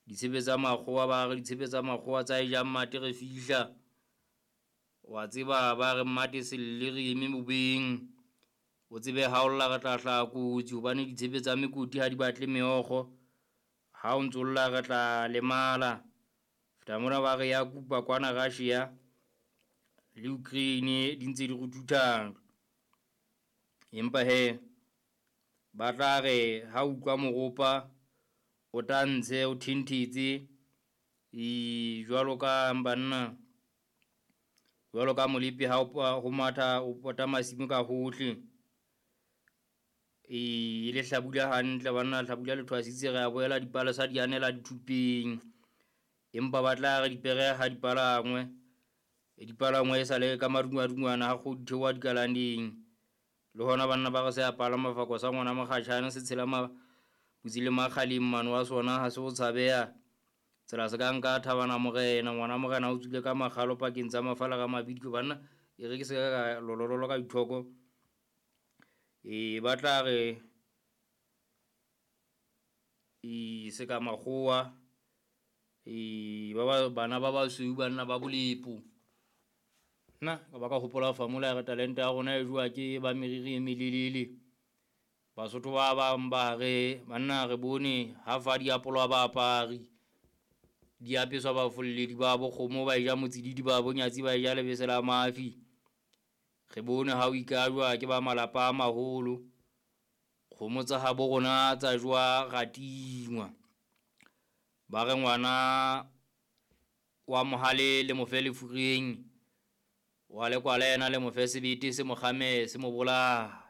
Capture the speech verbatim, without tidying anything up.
Ditshepe tsa makgowa ba re ditshepe tsa makgowa tsa e jang mate re fihla. Wa tseba ba re mmate selle re eme bobeng. O tsebe ha o lla re tla hlaha kotsi hobane ditshepe tsa mekoti ha di batle meokgo. Ha o ntso lla re tla lemala. Feta mona ba re ya kupa kwana Russia le Ukraine di ntse di ruthutha. Empa he ba tla re ha utlwa moropa o tantshe o thenthetse e jwalo ka banna, jwalo ka molepi ha o ho matha o pota masimo ka hohle. E le hlabula hantle banna, hlabula le thwasitse re a boela dipalesa di anela dithupeng. Empa ba tla re dipere ha di palangwe, dipalangwe e sale ka madungwadungwana ha kgodu theoha dikalaneng. Le hona banna ba re se a palama fako sa ngwana mokgatjhane se tshela maputsi le makgaleng mano wa sona ha se o tshabeha. Tsela se ka nka thabana morena, ngwana morena o tswile ka makgalo pakeng tsa mafala ka mabidiko banna. E re ke se ka lolololo ka dithoko. E ba tla re e se ka makgowa e ba ba bana ba basweu banna ba bolepo. Nna ka ba ka hopola famola ya re talente ya rona e jowa ke ba meriri e melelele. Basotho ba bang ba re banna re bone ha fa diapolo ba apari. Di apeswa bafolledi ba bo kgomo ba e ja motsididi ba bonyatsi ba e ja lebese la mafi. Re bone ha o ikajwa ke ba malapa a maholo. Kgomo tsa habo rona tsa jowa ra tingwa. Ba re ngwana wa mohale le mo fe lefureng, wa lekwala yena le mo fe sebete se mo kgame se mo bolaye.